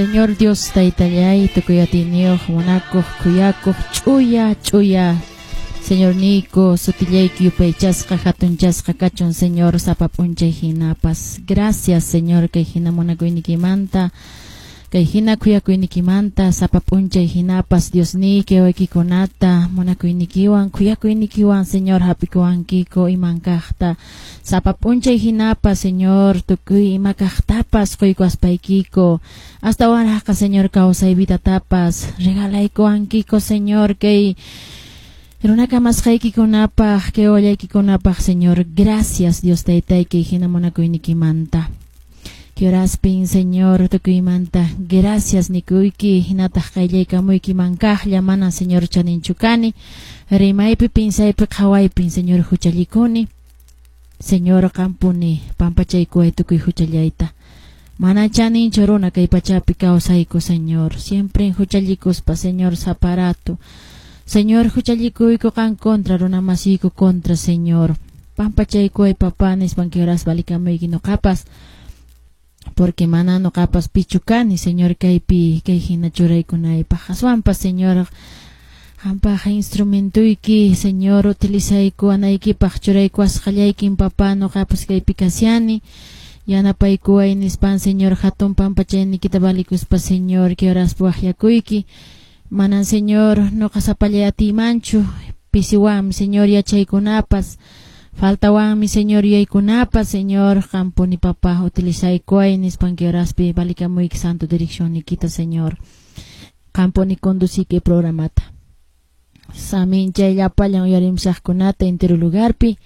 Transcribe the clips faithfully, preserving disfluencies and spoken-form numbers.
Señor Dios taytallay, tukuy atiyniyuq, munakuq, khuyakuq, ch'uya, ch'uya. Señor niyku, sutillayki yupaychasqa, hatunchasqa kachun, Señor, sapa p'unchay hinapas. Gracias, Señor, kay hina munakuynikimanta, kay hina khuyakuynikimanta, sapa p'unchay hinapas, Dios niyki, wawaykikunata, munakuynikiwan, khuyakuynikiwan, Señor, hap'ikuwankiko iman kaqta. Sapa p'unchay hinapas, Señor, tukuy ima kaqtapas quykuaspaykiko. Astawanraqqa, Señor, kawsay vidatapas regalaykuwankiko, Señor, kay runakamasqaykikunapaq, kay wawallaykikunapaq, Señor. Gracias, Dios taytayki, hina munakuynikimanta. Kioraspin, Señor, tukuymanta. Gracias, nikuyki, hinataq qayllaykamuyki mankaqlla, mana, Señor, chaninchu kani. Rimaypi, pinsaypi, qhawaypin, Señor, huchallikuni. Señor, qampuni, pampachaykuway tukuy huchallayta. Mana chaninchu runa kay pachapi kawsayku, Señor. Siempre huchallikuspa, Señor, saparato. Señor, huchallikuyku qan contra, runa masiyku contra, Señor. Pampachaykuway, papá, nispan kioras valikamuyki noqapas. Porque mana noqapas pichu kani, Señor, kaypi, kay hina churaykunaypaq. Aswanpas, Señor, qampaq instrumentuyki, Señor, utilizaykuwanaykipaq churaykuwasqallaykin, papá, noqapas kaypi kashani. Yanapaykuway nispan, Señor, hatun pampachaynikita valikuspa, Señor, kay horaspi waqyakuyki. Manan, Señor, noqa sapallay atiymanchu, pisiwanmi, Señor, yachaykunapas. Faltawanmi, Señor, yuyaykunapas, Señor, qampuni, papá, utilizaykuway nispan kay horaspi valikamuyki santo direccionnikita, Señor. Qampuni conduciki programata. Saminchay llapallan uyarimshaqkunata entero lugarpi.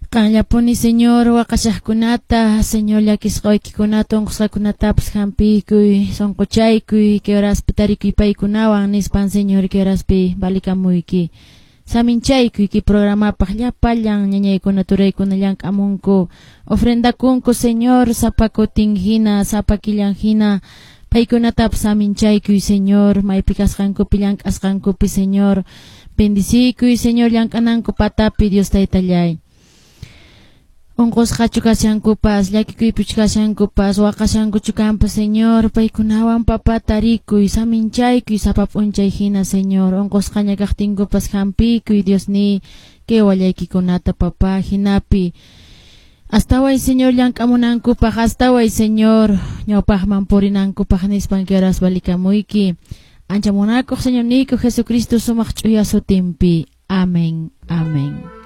Qanllapuni, Señor, waqashaqkunata, Señor, llakisqa waykikunata, unqusqakunatapas hampiykuy, sunquchaykuy, kay horaspi tarikuy paykunawan nispan, Señor, kay horaspi valikamuyki. Saminchaykuy kay programapaq llapallan ñañaykuna, turaykuna llank'amunku, ofrendakunku, Señor, sapa kutin hina, sapa killan hina, paykunatapas saminchaykuy, Señor, maypi kasqankupi llank'asqankupi, Señor, bendiciykuy, Señor, llank'ananku patapi, Dios taytallay. Unqusqachu kashankupas, llakikuypichu kashankupas, waqashankuchu kanpas, Señor, paykunawan papá tarikuy, saminchaykuy sapa p'unchay hina, Señor, unqusqaña kaqtinkupas hampiykuy, Dios ni, kay wallaykikunata, papá, hinapi. Astaway, Señor, llank'amunankupaq, astaway, Señor, ñawpaqman purinankupaq nispan kay horas valikamuyki. Ancha munakuq, Señor niyku, Jesucristo sumaq ch'uya sutinpi. Amén, amén.